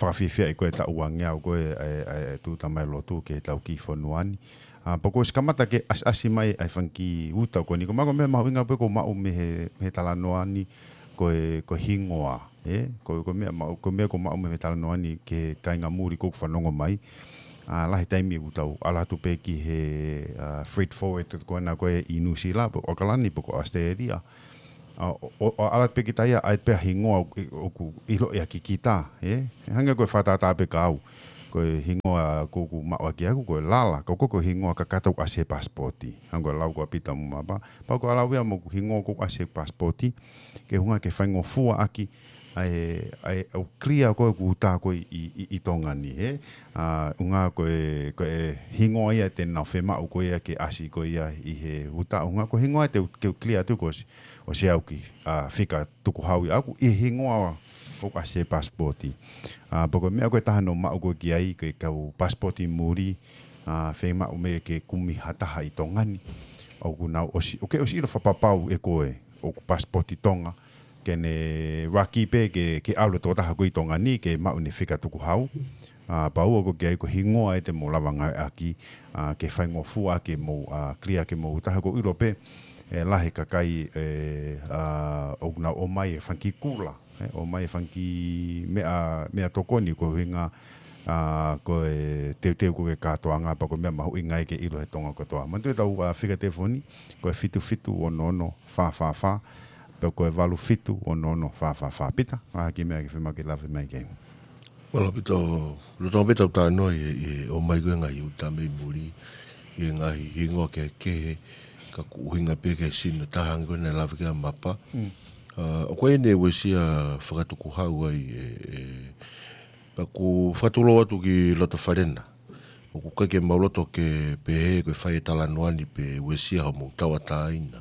pakafiefia ʻi ko e taʻu uangeau ko e, ʻa e, ʻa e, ʻa e tūʻuta mai lotu ki he tau ki fonua ni. ʻA, pea kuo ʻosi kamata ke ʻasi, ʻasi mai ʻa e fanga kiʻi uta ko eni. Ko e meʻa, ko e meʻa mahuʻinga pē ko e maʻu mei he, he talanoa ni, ko e, ko e hingoa, ē? Ko, ko e meʻa maʻu, ko e meʻa ko e maʻu mei he talanoa ni ki he kāinga muli ʻoku fanongo mai. ʻA, lahi taimi ʻoku tau ʻalu atu pē ki he, ʻa, freight forwarder ko ena ko ē ʻi Nuʻusila, pe ko ʻAokalani, pe ko Australia. ʻA, ʻo, ʻo, ʻo ʻalu pē kita ia, ʻai pē hingoa ʻoku, ʻoku ʻiloʻi ʻaki kita, ē? Hangē ko e fakatātā pē kia au. Ko e hingoa ʻoku, ʻoku maʻu ʻaki ʻaku, ko e Lala, ko, ko, ko e hingoa kakato ʻoku ʻasi he pasipoti. Hangē ko e lau ko ē ʻa Pita mo Mapa. Pea ko e lau ia mo e hingoa ʻoku ʻasi he pasipoti. Ke hanga ke faingofua ʻaki, ʻa e, ʻa e, ʻo clear ko ē ʻoku tā ko ē ʻi, ʻi, ʻi Tonga ni, ē? ʻA, ʻuhinga ko e, ko e hingoa ia te nau fiemaʻu ko ia ke ʻasi ko ia ʻi he uta. ʻUhinga ko e hingoa te u, ke u clear atu ko ʻosi, ʻosi au ki, ʻa, fika tukuhau ia ʻaku ʻi he hingoa ʻoku ʻasi he pasipoti. ʻA, pea ko e meʻa ko e taha naʻe maʻu ko ē ki ai, ko e kau pasipoti muli, ʻa, fiemaʻu mei he kumi ha taha ʻi Tonga ni. ʻOku nau ʻosi, ʻoku ke ʻosi ʻilo fakapapau ʻe koe, ʻoku pasipoti Tonga, ke ne ʻuluaki pē ke, ke ʻalu e tokotaha ko ē ʻi Tonga ni, ke maʻu ʻene fika tukuhau. ʻA, pea ua ko ē ki ai ko e hingoa ē te mou lava ngāueʻaki, ʻa, ke faingofua ke mou, ʻa, clear ke mou taha ko e ʻilo pē, ʻe lahi e kakai, ē, ʻa, ʻoku nau ʻomai e fanga kiʻi kula, ē, ʻomai e fanga kiʻi meʻa, meʻa tokoni ko e ʻuhinga, ʻa, ko e teuteu ko ē ki he kātoanga pea ko e meʻa mahuʻinga ia ke ʻilo he Tonga kotoa. Manatuʻi ʻetau, ʻa, fika telefoni, ko e fitu fitu ono ono fā fā fā, pe ko e valu fitu ono ono fā fā fā. Pita, ʻa, ha kiʻi meʻa ke fiemaʻu ke lave mai ki ai. Mālō Pita, ʻoku ou loto pē ʻetau talanoa ʻi, ʻi he ʻomai ko ē ngaahi uta mei muli, ʻi he ngaahi hingoa kehekehe, ka ʻoku ʻuhinga pē ki he sino taha hangē ko ē naʻe lave ki ai ʻa Mapa. Mm. ʻA, ʻoku ʻi ai ʻene uesia fakatukuhau ai, ē, ē, pea ʻoku ou fakatulou atu ki loto fale na. ʻOku ʻikai ke mau loto ke pehē ko e fai e talanoa ni pe uesia hoʻomou tauʻatāina.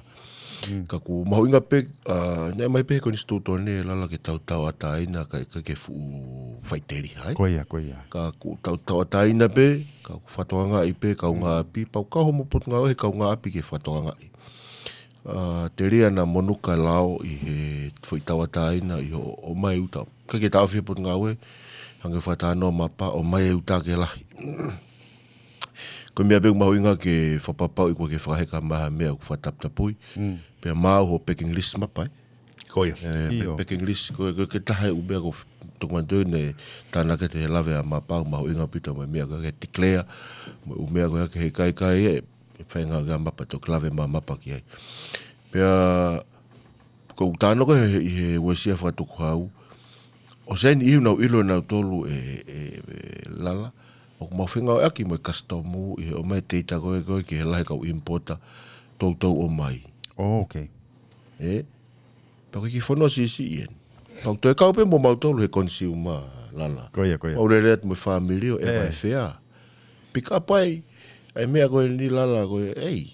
Mm. Ka ʻoku mahuʻinga pē, ʻa, naʻe ʻomai pē he konisitūtone Lala ke tau tauʻatāina, ka ʻikai ke fuʻu faʻiteliha ai. Ko ia, ko ia. Ka ʻoku tau tauʻatāina pē, ka ʻoku fakatokangaʻi pē, kaungā ʻapi, pea ʻoku kau hoʻomou potungāue he kaungā ʻapi ke fakatokangaʻi. ʻA, telia naʻa monū e lao ʻi he foʻi tauʻatāina ʻi hoʻo ʻomai uta. ʻIkai ke taʻofi he potungāue, hangē ko e fakatalanoa ʻa Mapa, ʻomai e uta ke lahi. Ko e meʻa pē ʻoku mahuʻinga ke fakapapauʻi ʻoku ʻikai ke fakaheka mai ha meʻa ʻoku fakataputapui. Mm. Pea maʻu hoʻo packing list Mapa, ē? Ko ia. Ē, pe-, ʻIo. Packing list, ko, ko, ko e taha e ʻū meʻa ʻoku f-, toki manatuʻi naʻe tānaki atu he lave ʻa Mapa, mahuʻinga ʻaupito mo e meʻa ko ē ke declare, mo e ʻū meʻa ko ē ke he kaikai ē, ʻe faingataʻa kia Mapa, toki lave mai ʻa Mapa ki ai. Pea, ʻoku ou talanoa ko ē he, ʻi he uesia fakatukuhau, ʻosi ʻi ai e niʻihi naʻa nau ʻilo ʻenautolu ē, ē, ē, Lala, ʻoku mau fengāueʻaki mo e kasitomu ʻi he ʻomai e teita ko ē, ko ē ki he lahi e kau importer toutou ʻomai. Oh, okay. Ē? Pea ko e kiʻi fonua siʻisiʻi eni. Pea ʻoku toe kau pē mo mautolu he consumer, Lala. Ko ia, ko ia. Mau lele atu mo e fāmili ʻo ʻeva e fea. Pick up ai, ʻa e meʻa ko eni Lala ko ē, ei.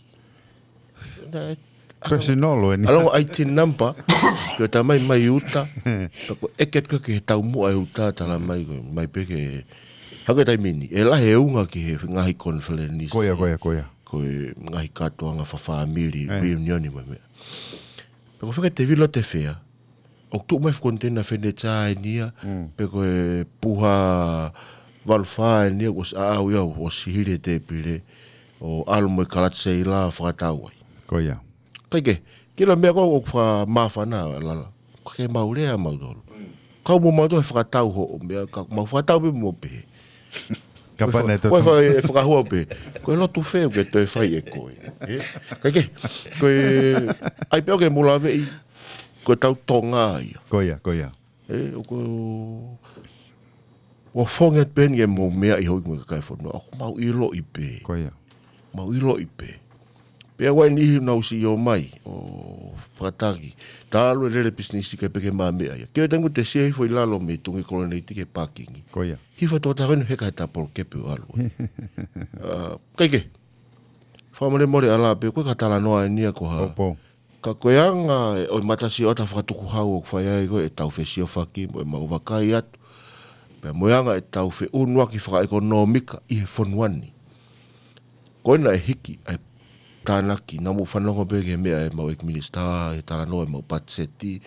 Personal ʻeni. ʻAlu ʻo ʻai e tin number, ko e talamai mai uta, pea ko e ʻeke atu ki he taumuʻa e uta, talamai ko e, mai pē ki he, hangē ko e taimi ni, ʻe lahi e unga ki he ngaahi conference. Ko ia, ko ia, ko ia. Ko e ngaahi kātoanga fakafāmili, reunion mo e meʻa. Pea ko e fika te vilo te fea, ʻoku tuʻu mai e fuʻu koniteina fenetiā eni ia, pe ko e puha valu fā eni ia, ʻosi ʻaʻau ia, ʻosi hili e tēpile, ʻo ʻalu mo e kalati seila fakatau ai. Ko ia. ʻIkai ke, kila meʻa ko ē ʻoku fakamāfana, Lala. ʻIkai ke mau lea mautolu. Kau mo mautolu he fakatau hoʻo meʻa, ka mau fakatau pē mo pehē. Kapau naʻe toe fai e fakahua pē. Ko e lotu fē ʻoku ke toe fai ʻe koe. Ē? ʻIkai ke, ko e, ʻai pē ʻoku ke mulaveʻi, ko e tau Tonga ia. Ko ia, ko ia. Ē, ʻoku, ʻoku ou fakaʻamu atu pē eni ke mou meaʻi hoʻo ʻi mo e kakai e fonua. ʻOku mau ʻiloʻi pē. Ko ia. Mau ʻiloʻi pē. Pea ʻoku ʻi ai e niʻihi naʻa nau ʻosi ō mai, ʻo fakataki. Talu e lele pisinisi kae ʻikai pē ke maʻu meʻa ia. Ke ʻoua te ngu te sio hifo ʻi lalo mei tuʻunga Koloneiti ki he pākingi. Ko ia. Hifo e tokotaha ko eni heka he tapolo kepe ʻo ʻalu. ʻA, ʻikai ke. Fakamolemole Lala pē, ko e ka talanoa eni ia ko ha. Pōpō. Ka ko e anga ʻo e matasioʻata fakatukuhau ʻoku fai ai ko ē ʻetau fesiofaki mo ʻemau vakai atu. Pea mo e anga ʻetau feʻunuaki fakaʻekonōmika ʻi he fonua ni. Ko ena ʻe hiki ai tānaki, naʻa mou fanongo pē ki he meʻa ʻa e mau ʻeiki minisitā, he talanoa ʻa e mau patiseti,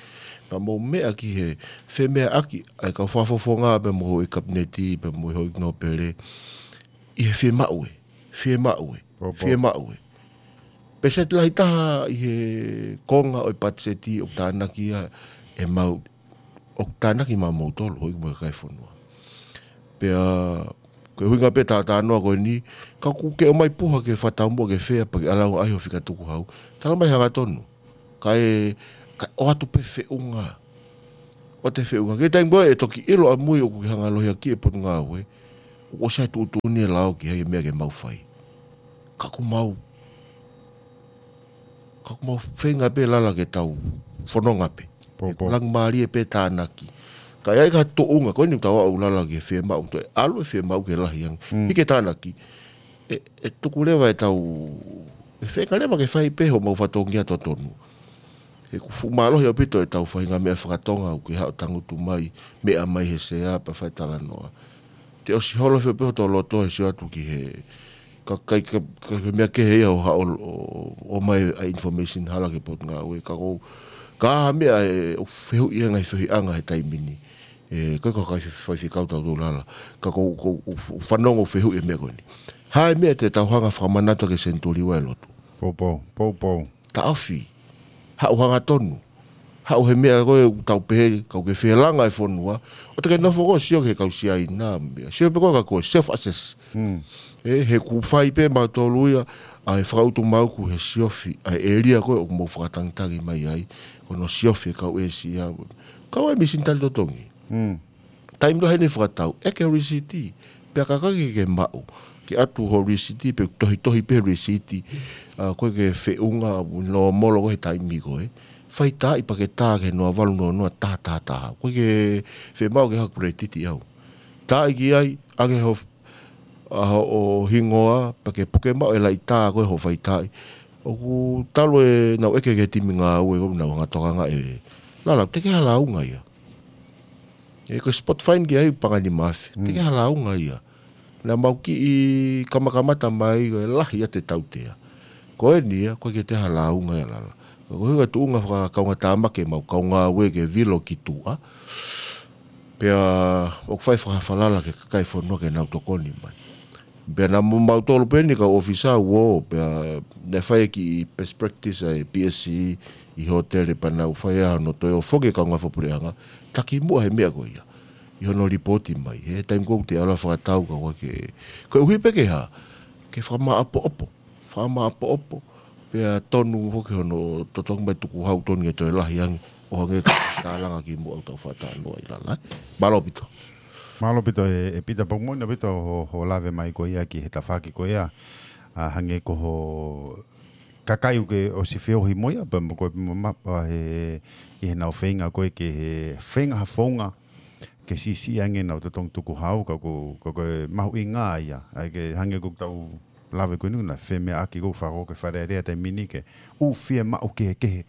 pea mou meʻa ki he femeʻaʻaki ʻa e kau fakafofonga pea mo e kapineti, pea mo e houʻeiki nōpele, ʻi he fiemaʻu ē, fiemaʻu ē, Pōpō. fiemaʻu ē. Pēseti lahi taha ʻi he konga ʻo e patiseti ʻoku tānaki ia ʻe mau, ʻoku tānaki maʻamoutolu, houʻeiki mo e kakai e fonua. Pea, ko e ʻuhinga pē talanoa ko eni, ka ʻoku ke ʻomai puha ke fakataumuʻa ke fea pea ke ʻalu ʻo ʻai ho fika tukuhau. Talamai hangatonu. Kae, kae ʻoatu pē feʻunga. ʻOatu e feʻunga. Ko e taimi ko ē ʻe toki ʻilo ʻamui ʻoku ke hanga ʻo lohiakiʻi e potungāue. ʻOku ʻosi ʻi ai e tuʻutuʻuni e lao ki he meʻa ke mau fai. Ka ʻoku mau, ka ʻoku mau feinga pē Lala ke tau fononga pē. Pōpō. Langimālie pē tānaki. Ka ʻi ai ha tuʻunga, ko eni ʻoku tau aʻu Lala ki he fiemaʻu, toe ʻalu e fiemaʻu ke lahi ange. Mm. Hiki e tānaki. ʻE, ʻe tuku leva e tau, ʻe feinga leva ke fai pē homau fatongia totonu. He ʻoku fuʻu mālohi ʻaupito e tau faʻahinga meʻa fakatonga ʻoku ke haʻu ʻo tangutu mai, meʻa mai he sea pea fai talanoa. Te ʻosi holo fio pē hoto loto he sio atu ki he, ka kai ka, ka, ka meʻa kehe ia ʻo haʻu ʻo, ʻo, ʻomai ʻa e information hala ki he potungāue. Ka ko, ka ha meʻa ʻe, ʻoku fehuʻi ange ʻi he fehuʻiʻanga he taimi ni. ʻE, ko e ko kai fe-, faifekau tau tau Lala. Ka ko, ko, ko, fanongo fehuʻi e meʻa ko eni. Hā e meʻa te tau hanga fakamanatu ki he senituli ua e lotu. Pōpō, pōpō. Taʻofi. Haʻu hangatonu. Haʻu he meʻa ko ē ʻoku tau pehē, ka ʻoku ke felanga e fonua. ʻOua te ke nofo koe ʻo sio ki he kau Siaina, meʻa. Sio pē koe ka ko e self-assess. Mm. ʻE, he ʻoku fai pē mautolu ia, ʻa e fakautu mau ʻoku he siofi, ʻa e ʻēlia ko ē ʻoku mou fakatangitangi mai ai, ko hono siofi e kau ʻĒsia. Kau ai e misini tali totongi. Mm. Taimi lahi ʻene fakatau, ʻeke ho lisiti, pea ka ʻikai ke ke maʻu, ke ʻatu ho lisiti, pe tohitohi pē lisiti, ʻa, ko e ke feʻunga, nōmolo ko ē he taimi ko ē, fai taaʻi pea ke tā ki he noa valu noa noa taha taha taha. ʻOku ʻikai ke fiemaʻu ke haku lētiti au. Taaʻi ki ai, ʻaki ho ʻa hoʻo hingoa, pea ke puke maʻu e laʻitā ko ē hoʻo fai taaʻi. ʻOku talu ʻenau ʻeke ki he timi ngāue, ʻoku nau hanga ʻo tokangaʻi e Lala, teʻeki ha lāunga ia. ʻE ko e spot fine ki ai paʻanga ʻe nima afe. Mm. Teʻeki ha lāunga ia. Naʻa mau kiʻi kamakamata mai ko e lahi ʻa e tautea. Ko eni ia, ʻoku ʻikai ke toe ha lāunga ia Lala. Ka ko e ʻuhinga e tuʻunga fakakaungātāmaki ʻemau kau ngāue ke vilo ki tuʻa. Pea ʻoku fai fakafalala ki he kakai e fonua ke nau tokoni mai. Pea naʻa mo mautolu pē eni kau ʻōfisa ʻo, pea naʻe fai e kiʻi best practice ʻa e P S C ʻi he hōtele pea nau fai ʻa hono toe ʻo foki e kau ngāue fakapuleʻanga, taki muʻa he meʻa ko ia. ʻI hono lipooti mai, he taimi ko ē ʻoku te ala fakatau ka ʻoua ke, koeʻuhi pē ke hā, ke fakamāʻopoʻopo. Fakamāʻopoʻopo, pea tonu foki hono totongi mai tukuhau tonu ke toe lahi ange, ʻo hangē ko e tālanga kimuʻa ʻoku tau fakatalanoa ai Lala. Mālō ʻaupito. Mālō ʻaupito ē, ē Pita, pea ʻoku moʻoni ʻaupito hoʻo, hoʻo lave mai ko ia ki he tafaʻaki ko ia, ʻa, hangē ko ho kakai ʻoku ke ʻosi feohi mo ia, pea mo ko e ma-, ma-, ʻa, he, ʻi heʻenau feinga ko ē ke he feinga ha founga, ke siʻisiʻi ange ʻenau totongi tukuhau, ka ko, ka ko e mahuʻinga ia. ʻA ia ke hangē ko ʻetau lave ko eni naʻe femeʻaʻaki ko e fakakaukau ki he Fale Alea he taimi ni ke ʻū fiemaʻu kehekehe.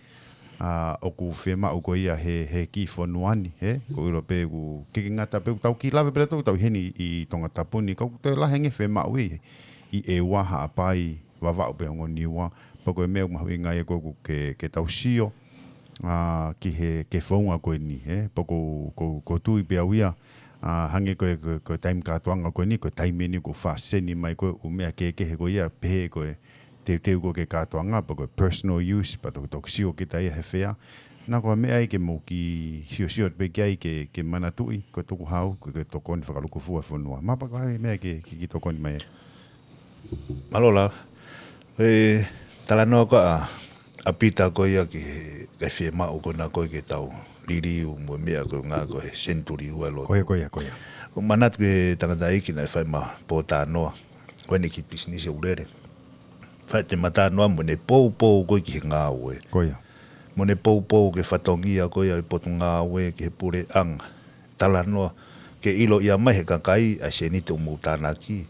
ʻA, ʻoku fiemaʻu ko ia he, he kiʻi fonua ni, he? ʻOku ʻilo pē ʻoku ʻikai ke ngata pē ʻoku tau kiʻi lave pē ʻa tautolu ʻi heni ʻi Tongatapu ni, ka ʻoku toe lahi ange e fiemaʻu ʻi, ʻi ʻEua, Haʻapai, Vavaʻu pea Niua, pea ko e meʻa ʻoku mahuʻinga ia ko ē ʻoku ke, ke tau sio, ʻa, ki he, ki he founga ko eni, ē? Pea ʻoku, ʻoku, ʻoku ou tui pē au ia, ʻa, hangē ko e, ko e, ko e taimi kātoanga ko eni, ko e taimi eni ʻoku faʻa seni mai ko ē ʻū meʻa kehekehe ko ia, pehē ko e teuteu ko ē ki he kātoanga, pea ko e personal use, pea toki, toki sio kita ia he fea. Naʻa ko e meʻa ia ke mou kiʻi siosio pē ki ai ke, ke manatuʻi, ko e tukuhau, ko e, ko e tokoni fakalūkufua e fonua. Mahalo pē ko e hā e meʻa ke, ke, ke tokoni mai ai. Mālō Lala. E talanoa ko ē ʻa, ʻa Pita ko ia ki he, ki he fiemaʻu ko ena ko ē ke tau liliu mo e meʻa ko ē ngā ko e senituli ua e lotu. Ko ia, ko ia, ko ia. ʻOku ou manatu ki he tangataʻeiki naʻe fai ʻema pōtalanoa. Ko eni ki he pisinisi ʻoku lele. Fai ʻete talanoa mo ʻene poupou ko ē ki he ngāue. Ko ia. Mo ʻene poupou ki he fatongia ko ia ʻo e potungāue ki he puleʻanga. Talanoa, ke ʻiloʻi mai ʻe he kakai ʻa e sēniti ʻoku mou tānaki,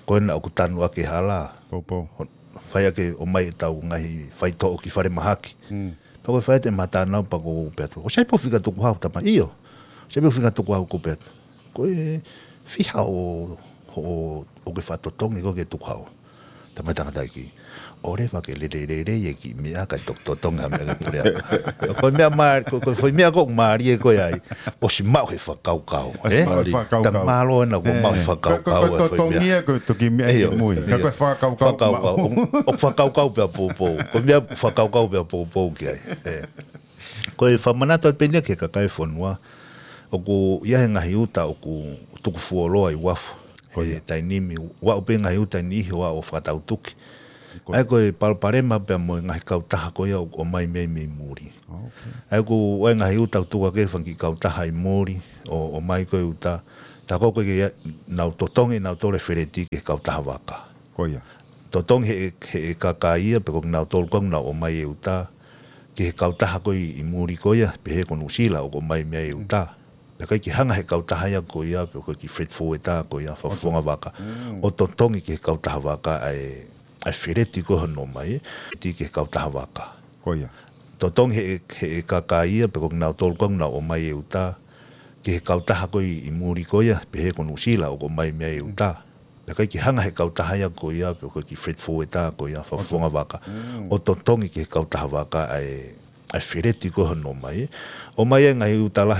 ko ena ʻoku tanu ʻaki e hala. Poupou. Ho-, fai ʻaki ʻo ʻomai ʻetau ngaahi faitoʻo ki falemahaki. Mm. Pea ko e fai ʻete talanoa pea ko u pehē atu, ʻoku sai pē ho fika tukuhau, Tama? ʻIo. ʻOku sai pē ho fika tukuhau, ʻoku ou pehē atu. Ko e fiha ʻo, ʻo, ʻoku ke fakatotongi ko ē ki he tukuhau? Tamai tangataʻeiki, ʻoua leva ke lele lele e kiʻi meʻa kae toki totongi ha meʻa ki he puleʻanga. Ko e meʻa mā, ko, ko e foʻi meʻa ʻoku mālie ko ē ai, ʻosi maʻu he fakakaukau, ē? Mālie. Fakakaukau. Tau mālō ʻana kuo maʻu he fakakaukau e foʻi meʻa. Totongi ia ko e toki meʻa ki mui. Ka ko e fakakaukau. Fakakaukau. ʻO, ʻo fakakaukau pea poupou. Ko e meʻa fakakaukau pea poupou ki ai. Ē. Ko e fakamanatu atu pē ʻeni ki he kakai e fonua, ʻoku ʻi ai e ngaahi uta ʻoku tuku fuoloa ʻi uafu. Ko ia. He taimi ni, ʻoku aʻu pē ngaahi uta ʻi niʻihi ʻo aʻu ʻo fakatautuki. Ko ia. ʻA ia ko e palopalema pea mo e ngaahi kautaha ko ia ʻoku ʻomai mei, mei muli. ʻA ia ʻoku ʻi ai e ngaahi uta ʻoku tuku hake e fanga kiʻi kautaha ʻi muli, ʻo, ʻomai ko e uta. Tā ko ē ko ē ke nau totongi ʻe nautolu e feleti ki he kautaha vaka. Ko ia. Totongi he, he, he kakai ia, pe ko kinautolu ko ē ʻoku nau ʻomai e uta ki he kautaha ko ē ʻi muli ko ia, pehē ko Nuʻusila ʻoku ʻomai mei ai e uta. Pea ʻikai ke hanga he kautaha ia ko ia, pe ko e kiʻi freight forwarder ko ia, fakafofonga vaka, ʻo totongi ki he kautaha vaka ʻa e, ʻa e feleti ko ē hono ʻomai, ki he kautaha vaka. Ko ia. Totongi he, he, he kakai ia, pe ko kinautolu ko ē ʻoku nau ʻomai e uta ki he kautaha ko ē ʻi muli ko ia, pehē ko Nuʻusila ʻoku ʻomai mei ai e uta. Pea ʻikai ke hanga he kautaha ia ko ia, pe ko e kiʻi freight forwarder ko ia, fakafofonga vaka, ʻo totongi ki he kautaha vaka ʻa e, ʻa e feleti ko ē hono ʻomai. ʻOmai e ngaahi uta lahi